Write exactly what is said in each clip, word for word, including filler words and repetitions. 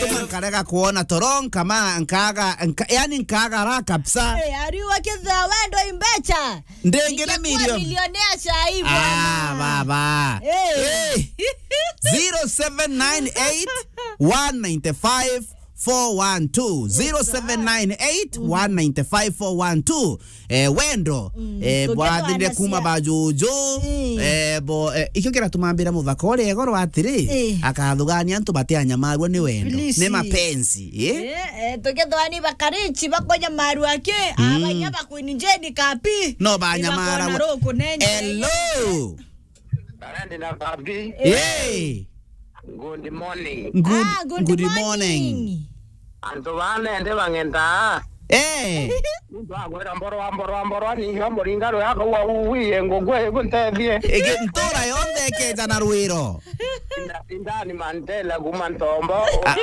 Tuma nkarega kuona toro, nkama, nkaga, nka-, yani nkaga raha kabisa. Eh, ariuga kethira wendo imbecha. Ndengere ningekuwa milioni. Milionea chai, ah, bwana. Baba. Eh. Eh. Zero seven nine eight, one nine five, four one two. Yes, sir. Zero seven nine eight, one nine five, four one two. Eh, wendo, mm, eh, bwathire kuma bajuju, mm, eh, bo, eh, ikio kiratuma mbira muthaka uria igoro atiri, eh, akathugania antu batianyamarua ni wendo, please, ni mapenzi, eh? Eh, eh, tukethwa ni bakarichi bakonyamarua ki, mm, abanya bakwini njeni kapi. No banyamarua. Hello. Barandi na Babi. Eh. Hey. Good morning. Good, ah, good, good morning, morning. Antu bane ndi bang'endaa. Eh. Muntu agwira mborwa, mborwa, mborwa, ninga muringa rwako wa uwi, ngugwe, guntethie. Ege ntura yonthe ekeja na rwiro. Inda, indani mantela kuma ntombo. Ah.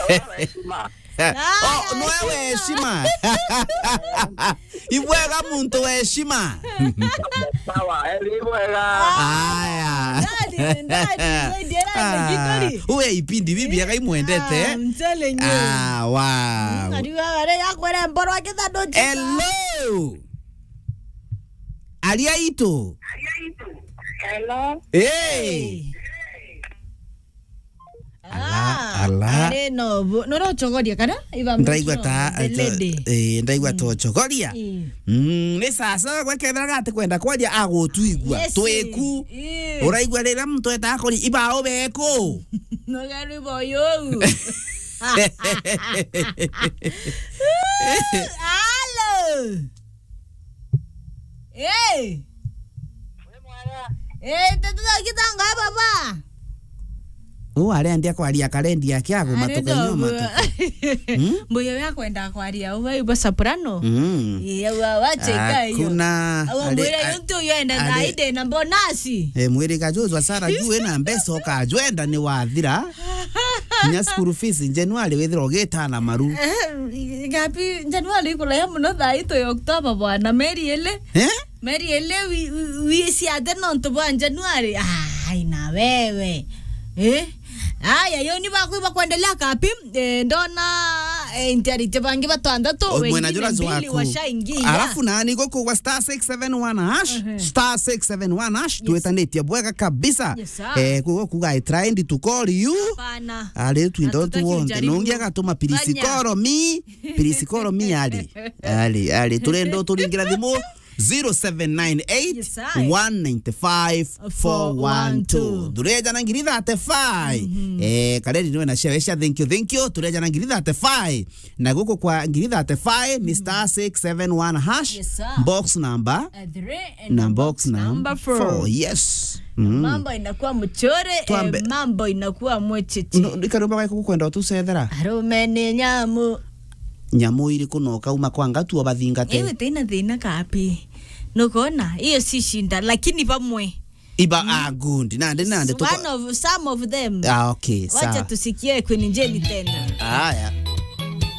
Wa, wa heshima. Oh, no, we heshima. Ibwega muntu we heshima. Sawa, eli ibwega. Aya. Ndani, ndani, ndani, ndani, ah, gikori. Uwe ipindi bibi, eh, agai mwendete. Ah, I'm telling you. Ah, wow. Mm, ariwa wale ya kwere mboro akitha ndo chika. Hello. Aria itu. Hello. Hey. Hey. Ala, ah, ala. Ari no bu-, no, no chogoria kana? Iba ndaigua mtu ta, the lady. Eh, ndaigua, mm, to chogoria. Eh. Mm, ni sasa gwekethera gati kwenda kwaria agutwigua. Yes. Tweku. Eh. Uraigua rira muntu eta akori iba obeku. No gari boyo. Alo. Eh. Eh, tetu kitanga baba. U arendia kwaria karendi yake agu matuka nyoma. Hmm? Mbuyo ya kwenda kwaria uwe ibo soprano. Mm. Iya, wa, wache ika iyo. Kuna au ari-, mwira a-, yuntu uyo ende ari-, thaide na bonasi. Eh, mwiri kajuzwa Sara juu ena mbeca ukajwenda ni wathira. Nya school fees January withira ugitana maru. Eh, gapi January ikuraya muno thaa itu ya October bwana, meri ile. Eh? Meri ile wi-, wi-, wisi ate nontu bwa January. Ai, na wewe. Eh? Aya, yo ni baku bakwendelea kapi. Eh, ndona, eh, intiarite bangi batandatu, o, mwena wengine jura mbili jwaku washaingia. Alafu nani guku gwa star six seven one hash, mhm, star six seven one hash, yes, twetanitie bwega kabisa. Yes, sir. Eh, kugo kuga I tried to call you. Hapana. Ari twinda tu wonthe. Hatutaki ujaribu. Nungi agatuma, please call me. Please call me, ari. Ari, ari. Turenda turingira thimu. Zero seven nine eight, one nine five, four one two. Yes, sir. Thureja na ngiri thirty-five. Mhm. Eh, Kareri niwe na share, share, thank you, thank you. Thureja na ngiri thirty-five. Na guku kwa ngiri thirty-five, ni star six seven one hash. Yes, sir. Box number. Uh, three and na box number four. Yes. Mm. Mambo inakuwa mchore, eh, twambe. Mambo inakuwa mwecheche. No, ni karumba gaku kwenda utucethera. Arume ni nyamu. Nyamu iriku no kauma kwa ngatu abathingate? Ewe tena thina kapi. Nukona, iyo si shinda, lakini bamwe. Iba, mm, ah, good. Nande, nande, tuko- one of, some of them. Ah, okay, wacha sawa. Tusikie Queen Jane tena. Aya.